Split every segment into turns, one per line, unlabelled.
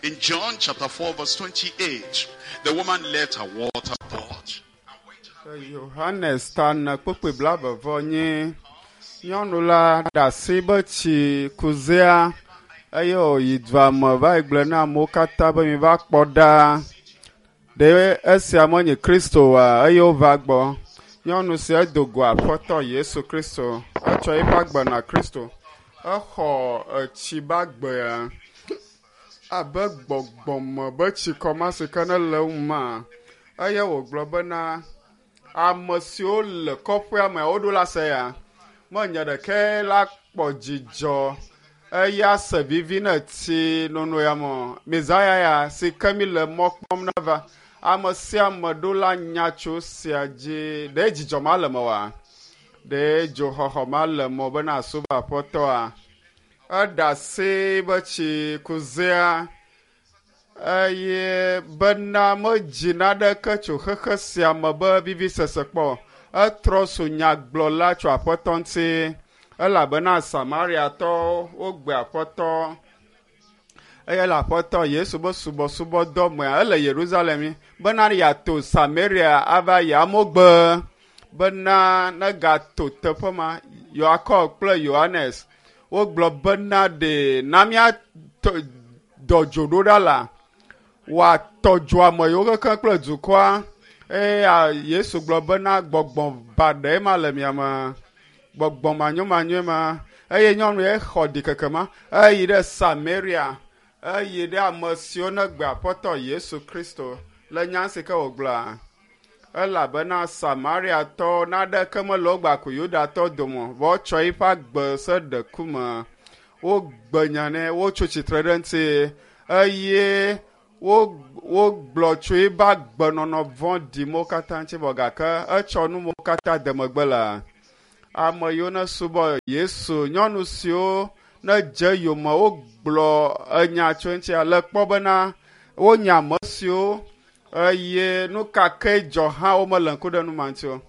In John chapter 4, verse 28, the woman left her water pot.
Yohanes ta ne kpukpui blaeve nyi nyɔnu la ɖe asi be tsi kuzea eye wòyi dua me va yi gblɔ na amewo katã be miva kpɔ ɖa ɖe esia menye Kristo oa eye wova gbɔ. Nyɔnu sia do go aƒetɔ Yesu Kristo etsɔ eƒe agbe na Kristo exɔ etsi be agbea abe gbɔgbɔme be tsikɔ ma si ke ne le eŋu ma eye wògblɔ bena ame siwo le kɔƒea me woɖo la se ya menye ɖeke la kpɔ dzidzɔ eya se vivi ne tsi nono ya me mizaya ya si ke mi le mɔ kpɔm na va ame sia ame ɖo la nya tso sia dzi ɖe dzidzɔ ma le me wa ɖe dzoxɔxɔ ma le me bena asubɔ aƒetɔa eɖe asi be tsi kuzea eye bena medzi naɖeke tso xexe sia me be vivisese kpɔ etrɔ so nyagblɔla tso aƒetɔ ŋuti elabena Samariatɔwo wogbe aƒetɔ eye le aƒetɔ Yesu be subɔsubɔdɔ mea ele Yerusalem bena yeato Samaria ava yi amewo gbe bena negato teƒe ma Yakob kple Yohanes wogblɔ bena ɖe na mía dɔ dzo ɖo ɖa la wòatɔ dzo ame yiwo kekeŋ kple dukɔa eye Yesu gblɔ bena gbɔgbɔ baɖe ma le mia me gbɔgbɔ manyomanyoe ma eye nyɔnu ya xɔ ɖikeke ma eyi ɖe Samaria eyi ɖe ame siwo ne gbe aƒetɔ Yesu Kristo le nya si ke wògblɔa elabena Samariatɔwo naɖeke mele wo gba ku Yudatɔ dome vɔ wotsɔ eƒe agbe se ɖe ku me wogbe nya nɛ wotso tsitre ɖe eŋuti eye wogblɔ tso eƒe agbenɔnɔ vɔ̃ɖi mo katã ŋuti vɔ gake etsɔ nu mo katã de megbe la ame yiwo ne subɔ Yesu nyɔnu siwo ne dze yome wogblɔ enya tso eŋuti ale kpɔ bena wonya ame siwo eye nu ka ke dzɔ hã womele ŋku ɖe nu ma ŋuti o.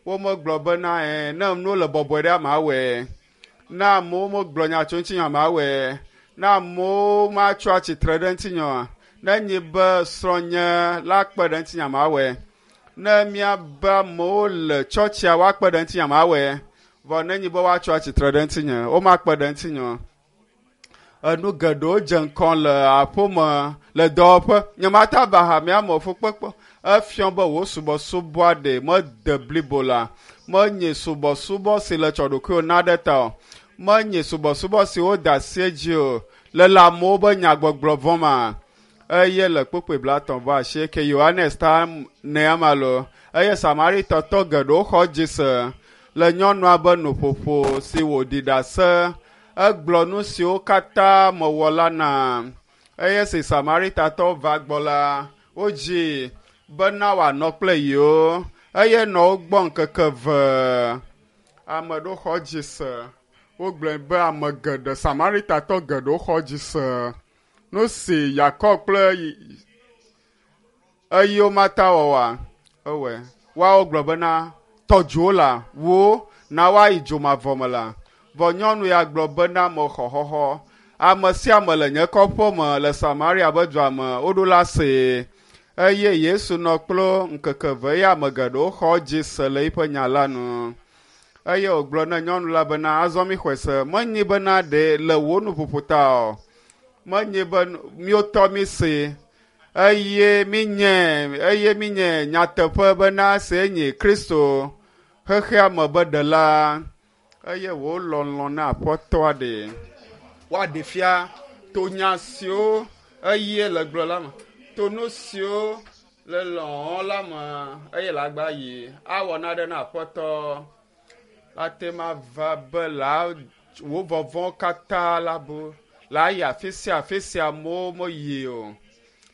Womegblɔ bena ne nuwo le bɔbɔe ɖe amea ne amewo megblɔ nya tso ŋutinye amea ne amewo matso atsitre ɖe ŋutinye oa ne nyi be srɔ̃nye la kpe ɖe ŋutinye amea ne míabe amewo le tsɔtsia woakpe ɖe ŋutinye amea vɔ ne nyi be woatso atsitre ɖe ŋutinye womakpe ɖe ŋutinye o. Enu geɖewo dze ŋkɔ le aƒeme le dɔwɔƒe nyemata va hamea me fukpekpe efiɔ be wò subɔsubɔa ɖe mede blibo la menye subɔsubɔ si le tsɔ ɖokuiwò na ɖe ta o menye subɔsubɔ si wode asi edzi o le le amewo be nyagbɔgblɔ vɔ̃ ma eye le kpukpui blaetɔ̃ vɔ asieke Yohanes ta nea ma lo eye Samaritɔtɔ geɖewo xɔ dzi se le nyɔnua be nuƒoƒo si wòɖi ɖase egblɔ nu siwo katã mewɔ la na eye si Samaritatɔwo va gbɔ la wodzi bena wòanɔ kple yewo eye nɔ wo gbɔ ŋkeke eve ame ɖewo xɔ dzi se wogblɔe be ame geɖe Samaritatɔ geɖewo xɔ dzi se nu si Yakob kple eyiwo mata wɔwɔa ewɔe woawo gblɔ bena tɔ dzowo la wo na woayi dzomavɔ me la vɔ nyɔnu ya gblɔ bena mexɔ xɔxɔ ame sia ame le nye kɔƒe me le Samaria be dua me woɖo la see eye Yesu nɔ kple ŋkeke eve eye ame geɖewo xɔ dzi se le eƒe nya la nu eye wògblɔ na nyɔnu la bena azɔ mi xɔe se menyi bena ɖe le wò nuƒoƒo ta o menyi be míwotɔ mi se eye minye nyateƒe bena se nye Kristo xexea me be ɖela eye wò lɔlɔ̃ na aƒetɔa ɖe woaɖe fia to nya siwo eye le gblɔ la me to nu siwo le lɔ̃ la me eye le agba yi awɔ naɖe na aƒetɔ ate ma va be la wò vɔvɔ̃ katã la bu la yi afi sia afi sia amewo meyi o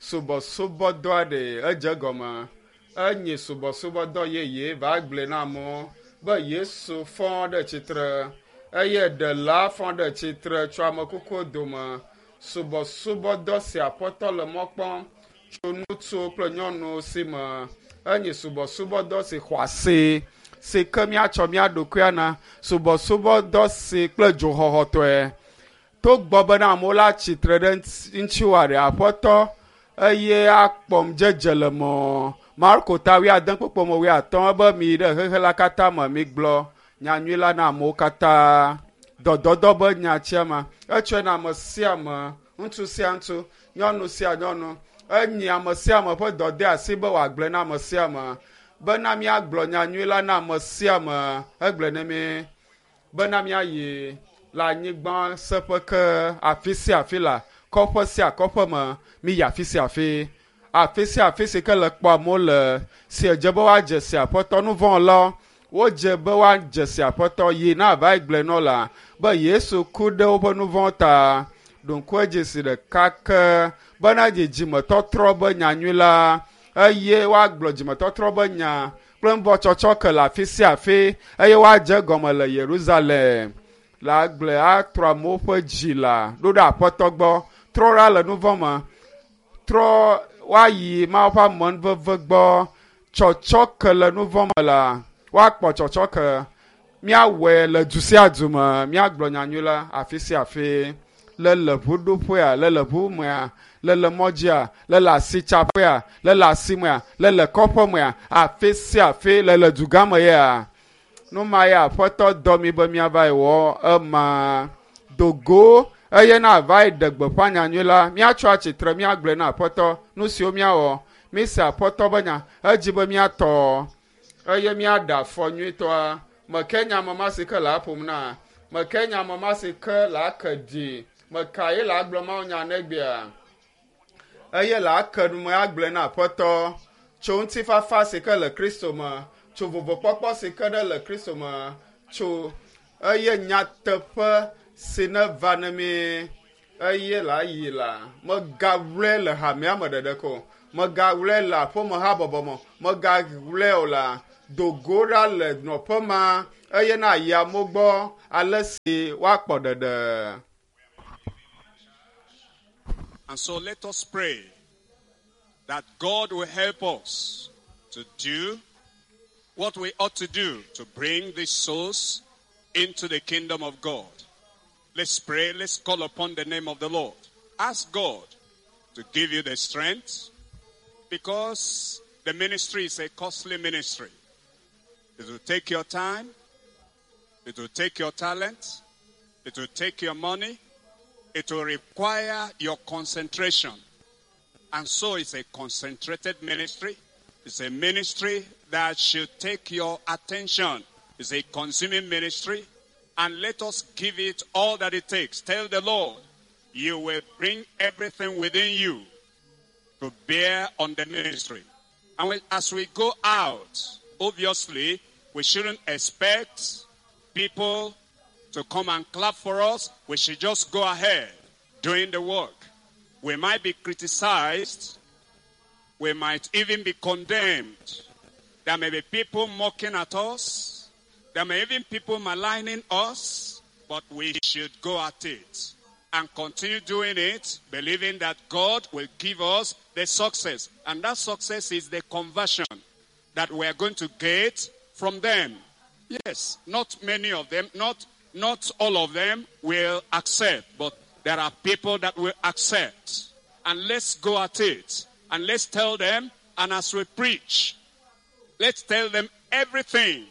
subɔsubɔdɔa ɖe edze gɔme enye subɔsubɔdɔ yeye va gblɔe na amewo be Yesu fɔ ɖe tsitre eye ɖela fɔ ɖe tsitre tso amekukuwo dome subɔsubɔdɔ si aƒetɔ le mɔ kpɔm tso ŋutsuwo kple nyɔnuwo si me enye subɔsubɔdɔ si xɔ asi si ke míatsɔ mía ɖokuia na subɔsubɔdɔ si kple dzoxɔxɔtɔe. Togbɔ bena amewo la tsitre ɖe ŋutiwòa ɖe aƒetɔ eye akpɔm dzedze le mɔ. Marko ta wuiade kpukpui me wuiatɔ̃ ebe mi yi ɖe xexe la katã me migblɔ nyanyui la na amewo katã. Dɔdɔdɔ be nyatsia ma etsɔe na ame sia ame, ŋutsu sia ŋutsu, nyɔnu sia nyɔnu. Enyi ame sia ame ƒe dɔdeasi be wòagblɔe na ame sia ame bena míagblɔ nyanyui la na ame sia ame egblɔe ne mí bena míayi le anyigba seƒe ke afi sia afi la kɔƒe sia kɔƒe me míyi afi sia afi. Afi sia afi si ke le kpɔ amewo le si edze be woadze si aƒetɔ nu vɔ̃ la wodze be woadze si aƒetɔ yi na ava yi gblɔe nɔ la be Yesu ku ɖe woƒe nu vɔ̃ ta. Ɖo ŋku edzi si ɖeka ke bena dzidzimetɔtrɔ be nyanyui la eye woagblɔ dzimetɔtrɔ be nya kple nuvɔ̃tsɔtsɔ ke le afi sia afi eye woadze gɔme le Yerusalem. Le agblɔe atrɔ amewo ƒe dzi la ɖo ɖe aƒetɔ gbɔ trɔ ɖa le nu vɔ̃ me trɔ woayi Mawu ƒe amenuveve gbɔ tsɔtsɔ ke le nu vɔ̃ me la woakpɔ tsɔtsɔ ke míawɔe le du sia du me míagblɔ nyanyui la afi sia afi le le ʋuɖoƒea le le ʋu mea le le mɔdzia le le asitsaƒea le le asimea le le kɔƒe mea afi sia afi le le dugã me ya nu ma ya aƒetɔ dɔ mi be míava yi wɔ ema dogo eye na ava yi ɖe gbeƒã nyanyui la míatsɔ atsitre míagblɔe na aƒetɔ nu siwo míawɔ míse aƒetɔ be nya edzi be míatɔ eye míaɖe afɔ nyuitɔa meke nya ame ma si ke le aƒom na meke nya ame ma si ke le ake ɖi meka ye le agblɔ mawu nya negbea eye le ake nume agblɔe na aƒetɔ tso ŋutifafa si ke le Kristo me tso vovokpɔkpɔ si ke ɖe le Kristo me tso eye nyateƒe si ne va ne mi eye le ayi la megaʋlɔe le hamea me ɖeɖe ko megaʋlɔe le aƒeme habɔbɔ me megaʋlɔe o la dogo ɖa le nɔƒe ma eye na yi amewo gbɔ ale si woakpɔ ɖeɖe.
And so let us pray that God will help us to do what we ought to do to bring these souls into the kingdom of God. Let's pray. Let's call upon the name of the Lord. Ask God to give you the strength because the ministry is a costly ministry. It will take your time. It will take your talent. It will take your money. It will require your concentration. And so it's a concentrated ministry. It's a ministry that should take your attention. It's a consuming ministry. And let us give it all that it takes. Tell the Lord, you will bring everything within you to bear on the ministry. And as we go out, obviously, we shouldn't expect people to come and clap for us. We should just go ahead doing the work. We might be criticized. We might even be condemned. There may be people mocking at us. There may even people maligning us. But we should go at it and continue doing it, believing that God will give us the success. And that success is the conversion that we are going to get from them. Yes, not many of them, not all of them will accept, but there are people that will accept. And let's go at it. And let's tell them, and as we preach, let's tell them everything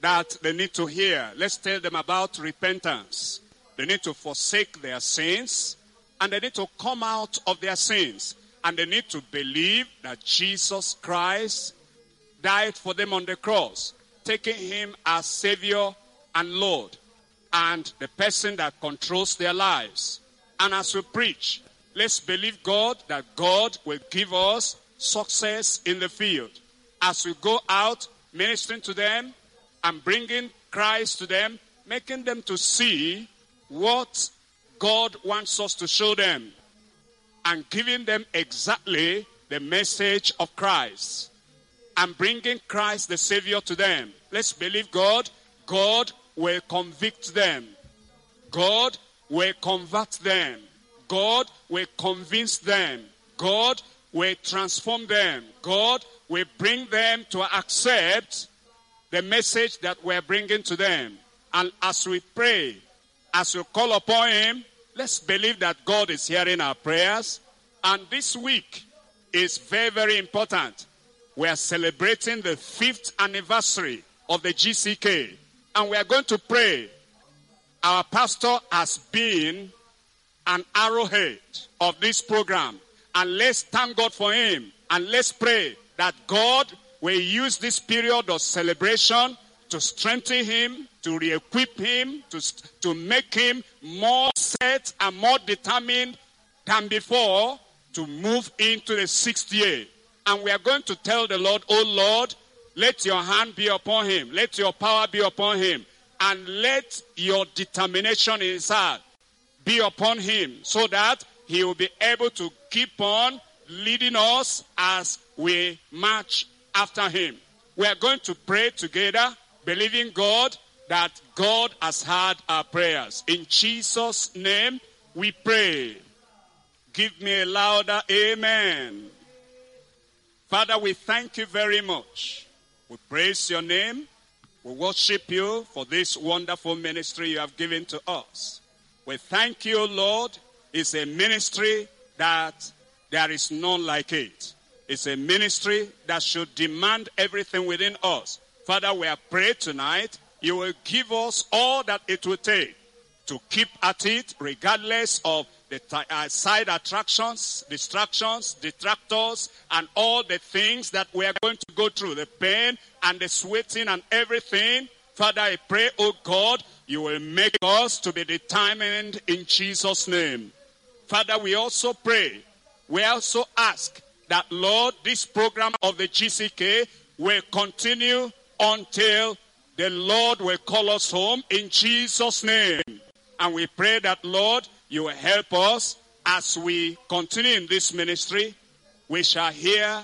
that they need to hear. Let's tell them about repentance. They need to forsake their sins, and they need to come out of their sins. And they need to believe that Jesus Christ died for them on the cross, taking him as Savior and Lord, and the person that controls their lives. And as we preach, let's believe God that God will give us success in the field. As we go out ministering to them and bringing Christ to them, making them to see what God wants us to show them and giving them exactly the message of Christ and bringing Christ the Savior to them. Let's believe God. God will convict them. God will convert them. God will convince them. God will transform them. God will bring them to accept the message that we're bringing to them. And as we pray, as we call upon him, Let's believe that God is hearing our prayers. And this week is very, very important. We are celebrating the fifth anniversary of the GCK. And we are going to pray. Our pastor has been an arrowhead of this program. And let's thank God for him. And let's pray that God will use this period of celebration to strengthen him, to re equip him, to make him more set and more determined than before to move into the sixth year. And we are going to tell the Lord, Oh Lord, let your hand be upon him, let your power be upon him, and let your determination in his heart be upon him so that he will be able to keep on leading us as we march after him. We are going to pray together, believing God that God has heard our prayers. In Jesus' name, we pray. Give me a louder amen. Father, we thank you very much. We praise your name. We worship you for this wonderful ministry you have given to us. We thank you, Lord. It's a ministry that there is none like it. It's a ministry that should demand everything within us. Father, we are praying tonight. You will give us all that it will take to keep at it, regardless of the side attractions, distractions, detractors, and all the things that we are going to go through, the pain and the sweating and everything. Father, I pray, oh God, you will make us to be determined in Jesus' name. Father, we also pray, we also ask that, Lord, this program of the GCK will continue until the Lord will call us home in Jesus' name. And we pray that, Lord, you will help us as we continue in this ministry. We shall hear,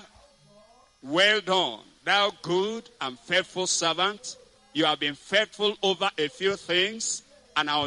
Well done, thou good and faithful servant. You have been faithful over a few things, and I will